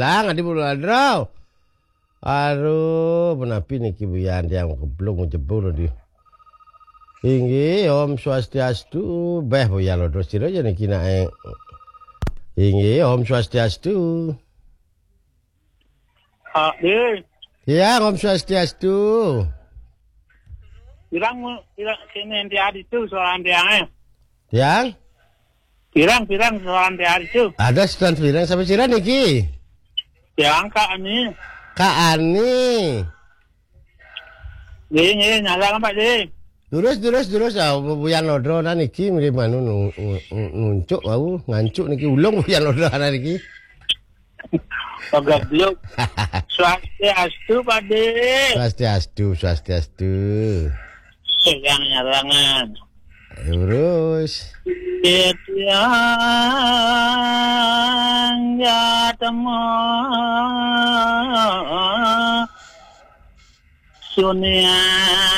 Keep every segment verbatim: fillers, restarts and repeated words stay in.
Tang, adi bulu adrau. Aduh, menapi niki buyan tiang keblung jebul di. Inggih, Om Swastiastu. Beh, buyan lo terus sira ya niki nae. Inggih, Om Swastiastu. Ah, deh. Ya, Om Swastiastu. Pirang, pirang, sini nanti adi tu soalan tiang, eh. Tiang? Pirang, pirang soalan tiang adi tu. Ada soalan pirang sampai sira niki? Tiang Kak Ani. Kak Ani. Nggih, nggih, nyalang, Pak, nggih. Terus, terus, terus, ah, buyan lodro nah niki mirip anu nu-, nu-, nu-, nuncuk wau, ngancuk niki ulung buyan lodro nah niki. Pegebluk. Swastiastu, Pak, nggih. Swastiastu, swastiastu. Yang nyarangan. Terus. Titiang jatema Suniantara.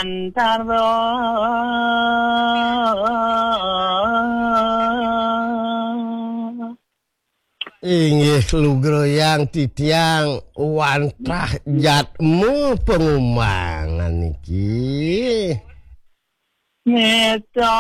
Inggih lugrayang titiang wantah jatmu pengumbangan niki. Neta.